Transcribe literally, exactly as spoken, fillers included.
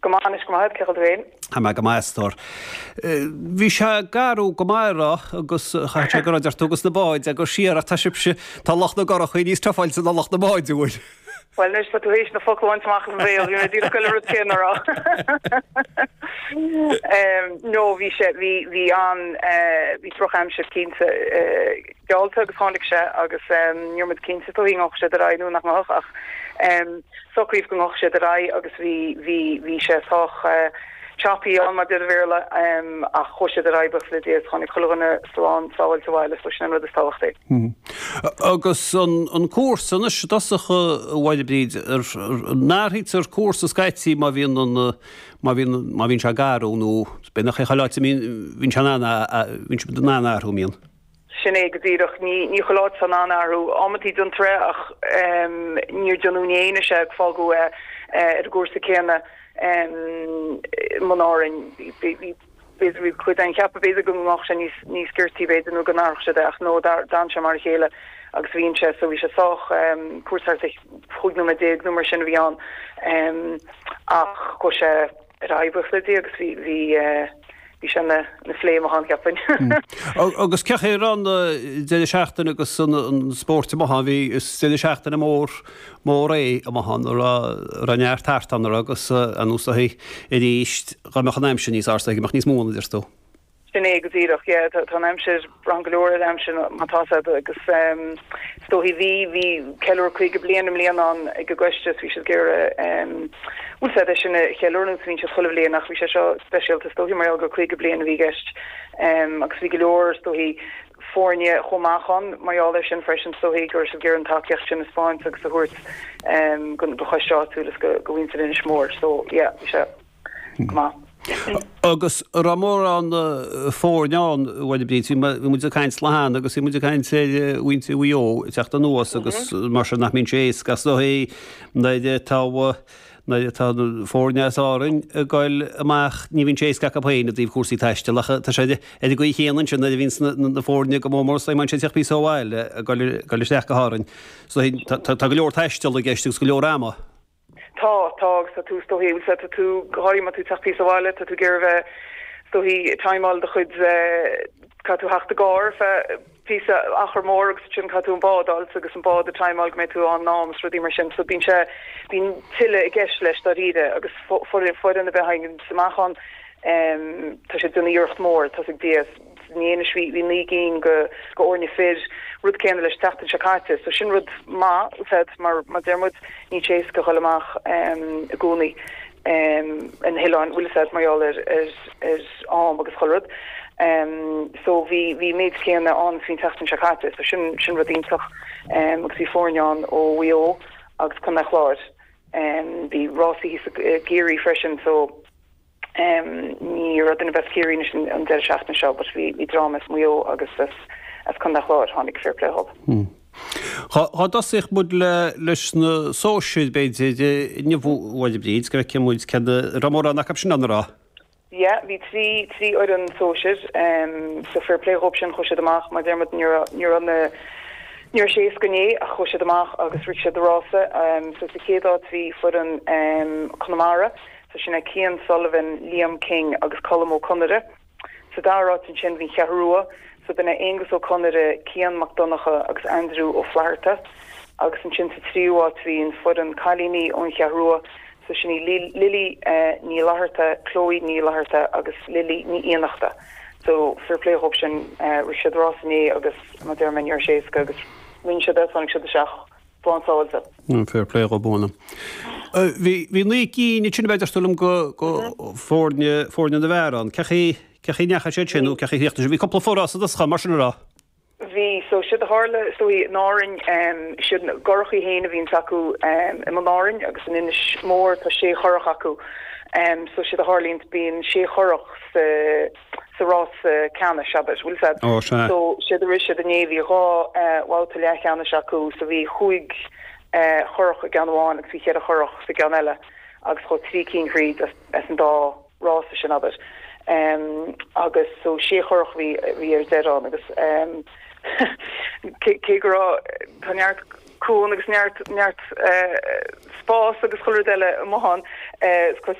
Go maith anois go maith cén chaoi a bhfuil tú féin? Tá mé go maith a stór. Bhí sé garbh go maith a rá agus chaithfeadh sé go raibh tú agus na báid agus siar ach tá sibhse, tá lucht na gcurachaí níos tufáilte ná lucht na mbáid an bhfuil? Bhuel anois tá tú théis na focla a bhaint amach as mo bhéal, bhí mé díreach ag goil an rud céanna a rá. No bhí sé, bhí, bhí an, bhí drochaimsir cinnte geallta agus tháinig sé agus ní raibh muid cinnte is dóichí an ngabhfadh sé ar aghaidh nó nach ngabhfadh ach socraíodh go ngabhfadh sé ar aghaidh agus bhí, bhí, bhí sé sách choppy ann mar deir an Bhéarla ach chuaigh sé ar aghaidh buíochas le Dia is tháinig chuile dhuine slán sábháilte abhaile so sin an rud is tábhachtaí. Agus an, an cúrsa anois i dtosach a Mháire Bríd, ar, an athraítear cúrsa scaití má bhíonn an, má bhíonn, má bhíonn sé garbh nó b'fhéidir nach é chuile áit a mbíonn, bhíonn sé in ann a, bhíonn sé in ann athrú, an mbíonn? Sin é go díreach. Ní, ní chuile áit atá in ann athrú. Amantaí déantar é ach níor déanadh inné anois é, fágadh é ar an gcúrsa céanna i mBun Árainn. Bhí, bhí, bhí cuid againn ag ceapadh b'fhéidir go mbeadh sé níos, níos giortaí b'fhéidir nó go n-athródh siad é ach no, d'fhan sé mar a chéile agus bhí sé, so bhí sé sách, cúrsa thart ar chúig nóiméad déag nó mar sin a bhí ann ach chuaigh sé ar aghaidh buíochas le Dia agus bhí, bhí, Bhí sé ina phléim amach ann, cheapfainn. Agus cén chaoi a raibh an deireadh seachtaine agus an spórt amuigh ann, bhí, is deireadh seachtaine mór, mór é amuigh ann, a raibh, a raibh neart thart ann, a raibh agus anuas uirthi arís, dá mbeadh an aimsir níos fearr, go mbeadh níos mó ann, a deir tú. Sin é go díreach, yeah, tá an aimsir, braitheann go leor ar an aimsir má tá sé agus is dóichí bhí, bhí ceiliúradh caoga bliain i mbliana ann ag an gcoiste is bhí siad ag iarraidh, bhfuil sé é sin a cheiliúradh nó bhíonn siad chuile bhliain ach bhí sé seo speisialta is dóichí mar gheall gur caoga bliain a bhí i gceist agus bhí go leor is dóichí foirne chomh maith ann mar gheall air sin freisin is dóichí go raibh siad ag iarraidh an tacaíocht sin a spáint agus a thabhairt don choiste áitiúil is go mhuintir Inis Mór so yeah bhí sé go maith. Agus an raibh mórán foirne ann, a Mháire Bríd, bhí muid ag caint lá cheana agus bhí muid ag caint ar mhuintir Mhaigh Eo ag teacht anuas agus mar sin nach mbíonn sé éasca is dóichí nuair atá nuair atá foirne as Árainn ag goil amach ní bhíonn sé éasca acu féin i dtaobh cúrsaí taistil ach tá sé ar an gcaoi chéanna ansin nuair a bhíonn na foirne go mór mór is má sé teacht píosa ó bhaile ag goil isteach go hÁrainn. So tá go leor taistil i gceist agus go leor ama. Tá, tá, agus tá tú, is dóichí, bhfuil tá tú, go háirithe má tá tú ag teacht píosa ó bhaile, tá tú ag iarraidh bheith, is dóichí, ag timeáil do chuid, caithfidh tú theacht i gcarr feadh píosa achar mór agus ansin caithfidh tú an bád a fháilt agus an bád a timeáil go mbeidh tú ann in am is rudaí mar sin. So bíonn sé, bíonn tuilleadh i gceist leis dáiríre agus foireann ar bith a thagann amach ann, tá siad ag déanamh iarracht mór, tá's ag Dia. Inné anois bhí bhí naoi gcinn go go fhoirne fir, rud céanna leis an tseachtain seo caite. So sin rud maith, said, mar mar deir muid, níl sé éasca dhul amach i gcónaí ar na hoileáin, bhfuil fhios a'd, mar gheall ar ar ar am agus chuile rud. So bhí bhí méid céanna ann is bhí an tseachtain seo caite. So sin sin rud iontach. Agus bhí foirne ann ó Mhaigh Eo agus Contae an Chláir. Bhí rásaí thíos i gCiarraí freisin so Ní raibh duine ar bith as Ciarraí anois an deireadh seachtaine seo but bhí bhí dream as Maigh Eo agus as as Contae an Chláir, tháinig fair play dhób. Dhá dtosódh muid le leis na sóisir b'fhéidir inniu a Mháire Bríd, go bhfeicfidh muid céard a raibh mórán acu sin ann a raibh. Yeah, bhí trí trí fhoireann sóisir so fair play dhób sin, chuaigh siad amach mar deir muid ní raibh ní raibh na ní raibh sé éasca inné ach chuaigh siad amach agus rith siad an rása. So sa chéad áit bhí foireann Conamara, So sin é Cian Sullivan, Liam King agus Colm Ó Conaire. Sa dara háit ansin bhí an Cheathrú Rua, so b'in é Aonghus Ó Conaire, Cian Mac Donncha agus Andrew Ó Flatharta. Agus ansin sa tríú háit bhí an foireann cailíní ón Cheathrú Rua, so sin í Lily Ní Fhlatharta, Chloe Ní Fhlatharta agus Lily Ní Fhiannachta. So fair play dhób sin, rith siad rás inné agus mar deir mé ní raibh sé éasca agus rinne siad é, tháinig siad isteach. Slán sábháilte. Fair play dhób ann. Bhí bhí naoi gcinn ansin a bheith deirtear liom go go foirne foirne na bhfear ann. Cén chaoi cén chaoi a ndeachaigh siad sin nó cén chaoi a chríochnaigh siad? Bhí cúpla forás i dtosach mar sin a raibh? Bhí. So séard a tharla is dóigh in Árainn siad na gcurachaí féin a bhíonns acu i mBun Árainn agus in Inis Mór tá sé churach acu. So séard a tharlaíonns bíonn sé churach sa sa rás ceannais, abair, bhfuil fhios a'd. Ó, sea. So, séard a rith siad inné, bhí dhá bhabhta leathcheannais acu, so bhí chúig churach i gceann amháin agus bhí cheithre churach sa gceann eile agus chuaigh trí cinn thríd as, as an dá rása sin, abair. Agus so sé churach a bhí, a bhí ar deireadh ann agus cé, cé go raibh, tá neart cuan agus neart, neart spás agus chuile rud eile amuigh ann, is